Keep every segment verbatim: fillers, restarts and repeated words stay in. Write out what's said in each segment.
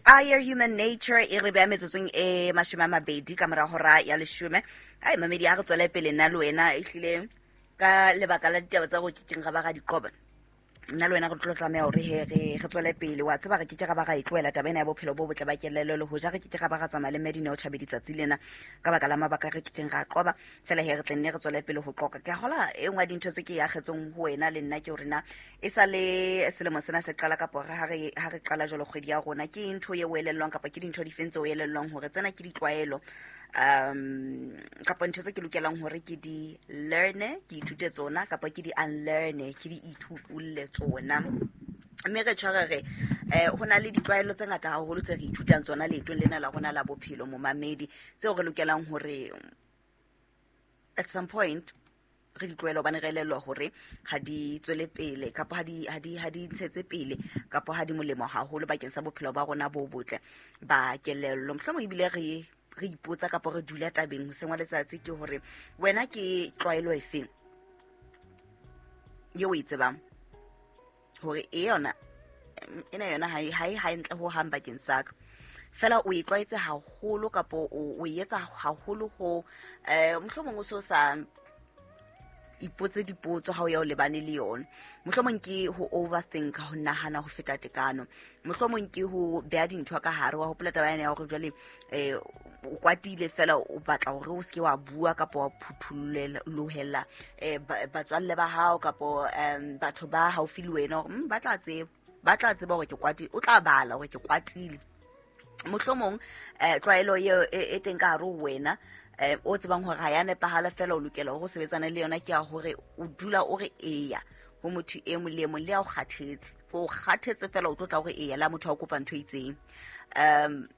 Higher Human Nature e re beha metsotsong e mashome a mabedi ka mora hora ya leshome. Ai mamedi, a re tswele pele nna le wena, ehlile ka lebaka la ditaba tsa go kekeng ra ba ra di qoba, nna le wena re tlo tlameha hore he re re tswele pele. Wa tseba re keke ra ba ra e tlohela taba ena ya bophelo bo botle ba kelello, le hoja re keke ra ba ra tsamaya le Medina o Thabedi tsatsi lena ka baka la mabaka re kekeng ra qoba. Fela he re tle nne re tswele pele ho qoqa. Ke a hola e nngwe ya dintho tse ke e akgetseng ho wena le nna ke hore na e sa le selemo sena se qala, kapa ha re ha re qala jwalo kgwedi ya rona, ke ntho e o elellwang kapa ke dintho difeng tse o elellwang hore tsena ke ditlwaelo um kapa ntho tse ke lokelang hore ke di learne, ke ithute tsona, kapa ke di unlearne, ke di ithutolle tsona. Mme re tshware re um ho na le ditlwaelo tse ngata haholo tse re ithutang tsona leetong lena la rona la bophelo, momamedi, tseo re lokelang hore at some point re di tlohele, hobane re elellwa hore ha di tswele pele kapa ha di ha di ha di ntshetse pele kapa ha di molemo haholo bakeng sa bophelo ba rona bo botle ba kelello. Mohlomong ebile re re ipotsa kapa re dula tabeng hoseng wa letsatsi ke hore wena ke tlwaelo efeng eo o e tsebang hore e yona ena yona ha e ha e hantle ho hang bakeng sa ka, fela o e tlwaetse haholo kapa o o e etsa haholo ho eh mohlomong o so sa ipotse dipotso ha o ya o lebane le yona. Mohlomong ke ho overthink, ho nahana ho feta tekano, mohlomong ke ho beha dintho ka hare. Wa hopola taba yane ya hore jwale eh o kwatile fela o batla hore o seke wa bua kapa wa phuthulohela eh batswalle ba hao kapa um batho ba haufi le wena hore ba tla tseba ba tla tseba hore ke kwatile, o tla bala hore ke kwatile. Mohlomong eh tlwaelo eo e teng ka hare ho wena eh o tsebang hore ha ya nepahala, fela o lokela hore o sebetsane le yona, ke ya hore o dula o re eya ho motho e mong le e mong le ya o kgathetse, o kgathetse fela o tlo tla hore eya la motho a o kopa ntho e itseng. Um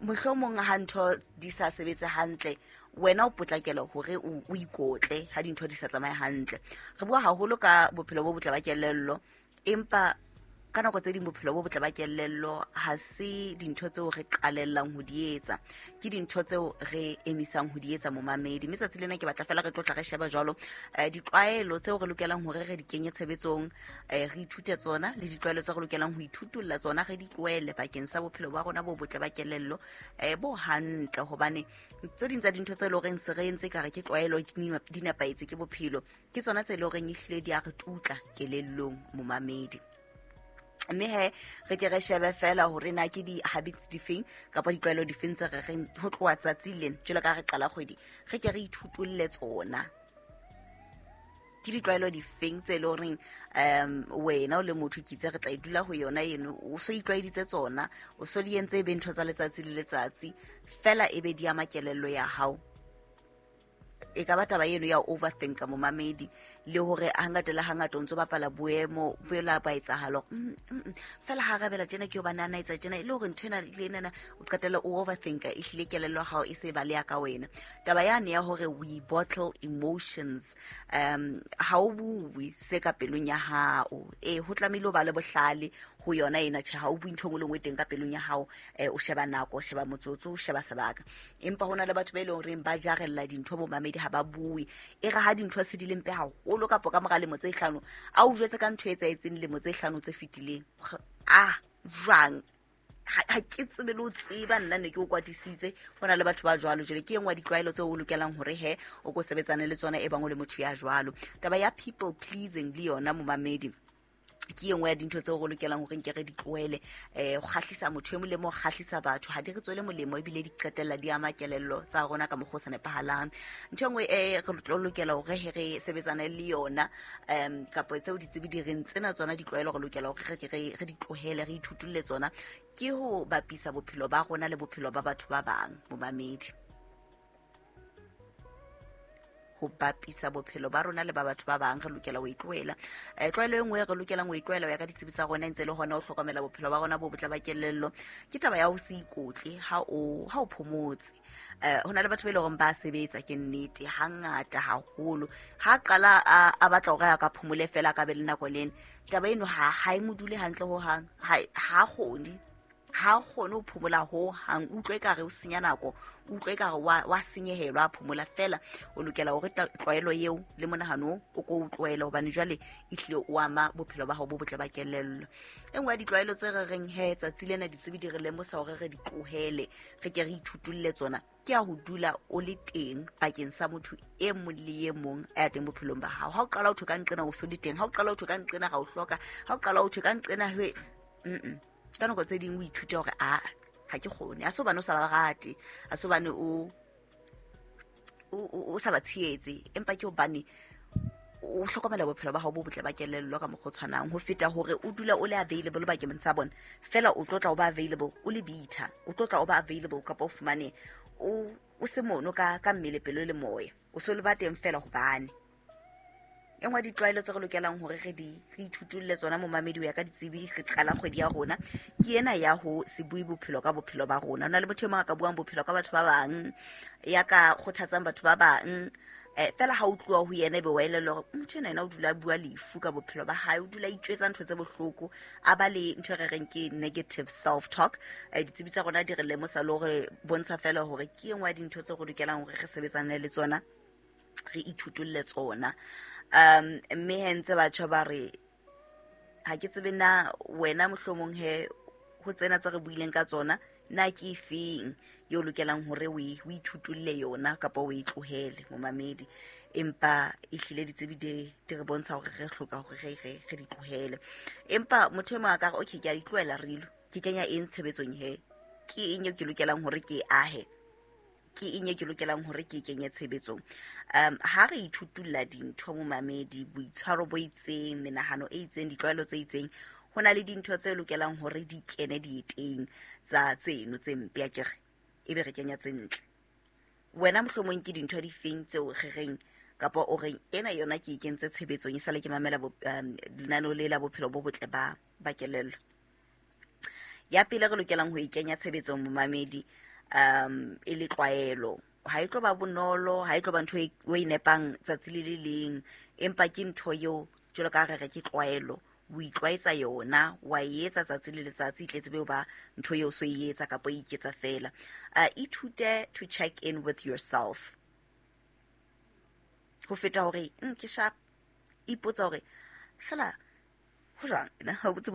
mohlomong ha ntho di sa sebetse hantle, wena o potlakela hore o ikotle ha dintho di sa tsamaye hantle. Re bua haholo ka bophelo bo botle ba kelello, empa ka nako tse ding bophelo bo botle ba kelello ha se dintho tseo re qalellang ho di etsa, ke dintho tseo re emisang ho di etsa, momamedi. Mme tsatsi lena ke batla fela re tlotla re sheba jwalo ditlwaelo tseo re lokelang hore re di kenye tshebetsong, re ithute tsona, le ditlwaelo tseo re lokelang ho ithutolla tsona, re di tlohele bakeng sa bophelo ba rona bo botle ba kelello bo hantle. Hobane tse ding tsa dintho tse leng horeng se re entse ekare ke tlwaelo di nepahetse ke bophelo, ke tsona tse leng horeng ehlile di a re tutla kelellong, momamedi. Mme he re ke re shebe fela hore na ke di-habits difeng kapa ditlwaelo difeng tse re reng ho tloha tsatsi lena jwalo ka re qala kgwedi re ke re ithutolle tsona. Ke ditlwaelo difeng tse leng horeng um wena o le motho ke itse re tla e dula ho yona eno, o so itlwaeditse tsona, o so di entse e be ntho tsa letsatsi le letsatsi fela e be di ama kelello ya hao. E ka ba taba eno ya overthinka, momamedi, le hore hangata le hangata o ntso bapala boemo boela ba etsahalo fela ha rabela tjena ke hobane a na etsa tjena, e le hore ntho ena le ena o qetella o overthinka, ehlile kelello ya hao e se baleha ka wena. Taba yane ya hore we bottle emotions, um ha o bue se ka pelong ya hao, eh ho tlamehile o ba le bohlale ho yona ena. Tjhe, ha o bue ntho e nngwe le nngwe teng ka pelong ya hao, eh o sheba nako, o sheba motsotso, o sheba sebaka. Empa hona le batho ba e leng horeng ba jarella dintho, bomamedi, ha ba bue. E re ha dintho se di le mpe haholo kapa ka mora lemo tse hlano a o jwetse ka ntho e etsahetseng lemo tse hlano tse fetileng, ah jwang ha ke tsebe le ho tseba nna ne ke o kwatisitse. Ho na le batho ba jwalo. Jwale ke e nngwe ya ditlwaelo tseo o lokelang hore he o ko sebetsane le tsona e bang o le motho ya jwalo. Taba ya people pleasing le yona, momamedi, ke e nngwe ya dintho tseo re lokelang hore nke re di tlohele. Eh ho kgahlisa motho e mong le mo kgahlisa batho ha di re tswele molemo, ebile di qetella di ama kelello tsa rona ka mokgwa o sa nepahalang. Ntho e nngwe e re tlo lokela hore he re sebetsane le yona, um kapa tseo ditsebi di reng tsena tsona ditlwaelo re lokela hore re re di tlohele, re ithutolle tsona, ke ho bapisa bophelo ba rona le bophelo ba batho ba bang, momamedi. Ho bapisa bophelo ba rona le ba batho ba bang re lokela ho e tlohela. Eh tlwaelo e nngwe re lokelang ho e tlohela ho ya ka ditsebi tsa rona ntse le hona ho hlokomela bophelo ba rona bo botle ba kelello, ke taba ya ho se ikotle ha o ha o phomotse. Eh ho na le batho ba e leng hore ba sebetsa, ke nnete, hangata haholo ha qala a batla hore a ka phomole fela ka be le nako lena, taba eno ha ha e mo dule hantle ho hang, ha ha kgone, Ha o kgone ho phomola ho hang, utlwe ekare o senya nako, utlwe ekare wa wa senyehelwa a phomola fela. O lokela hore tlwaelo eo le monahano o ko o tlohele, hobane jwale e hlile o ama bophelo ba hao bo botle ba kelello. E nngwe ya ditlwaelo tse re reng he tsatsi lena ditsebi di re lemosa hore re di tlohele, re ke re ithutolle tsona, ke ya ho dula o le teng bakeng sa motho e mong le e mong a teng bophelong ba hao. Ha o qala ho thwe ka nqena o so le teng, ha o qala ho thwe ka nqena ga o hloka, ha o qala ho thwe ka nqena he mm ka nako tse ding o ithute hore a ha ke kgone. A se hobane o sa ba rate, a se hobane o o sa ba tshehetse, empa ke hobane o hlokomela bophelo ba hao bo botle ba kelello ka mokgwa o tshwanang. Ho feta hore o dula o le available bakeng sa bona fela, o tlo tla o ba available o le bitter, o tlo tla o ba available kapa o fumane o o se mono ka ka mmele, pelo le moya, o so le ba teng fela hobane. E nngwe ya ditlwaelo tse re lokelang hore re di re ithutolle tsona momamedi ho ya ka ditsebi re qala kgwedi ya rona, ke ena ya ho se bue bophelo ka bophelo ba rona. Ho na le motho e mong a ka buang bophelo ka batho ba bang, ya ka kgothatsang batho ba bang, eh fela ha o tloha ho yena ebe wa elellwa hore motho ena yena o dula a bua lefu ka bophelo ba hae, o dula a itjwetsa ntho tse bohloko, a ba le ntho e re reng ke negative self talk. Eh ditsebi tsa rona di re lemosa le hore bontsha fela hore ke e nngwe ya dintho tse re lokelang hore re sebetsane le tsona, re ithutolle tsona. Um mme he ntse batjha ba re ha ke tsebe na wena mohlomong he ho tsena tse re buileng ka tsona, na ke efeng eo lokelang hore o e o ithutolle yona kapa o e tlohele momamedi. Empa ehlile ditsebi di di re bontsha hore re hloka hore re re re di tlohele. Empa motho e mong a ka re okay, ke a di tlohela rilo, ke kenya eng tshebetsong he, ke eng eo ke lokelang hore ke e ahe, ke eng e ke lokelang hore ke kenye tshebetsong. Um ha re ithutulla dintho momamedi, boitshwaro bo itseng, menahano e itseng, ditlwaelo tse itseng, ho na le dintho tse lokelang hore di kene dieteng tsa tseno tse mpe akere, ebe re kenya tse ntle. Wena mohlomong ke dintho di feng tseo re reng kapa o reng ena yona ke e kentse tshebetsong e sale ke mamela um lenaneo le la bophelo bo botle ba ba kelello. Ya pele re lokelang ho e kenya tshebetsong momamedi, um e le tlwaelo, ha e tlo ba bonolo, ha e tlo ba ntho e o e nepang tsatsi le le leng, empa ke ntho eo jwalo ka re re ke tlwaelo, o itlwaetsa yona, wa e etsa tsatsi le letsatsi, e tletse be ba ntho eo so e etsa kapa o iketsa fela. Uh, ithute to check in with yourself ho feta hore mm, ke sharp, ipotsa hore fela ho jwang ena ha o botse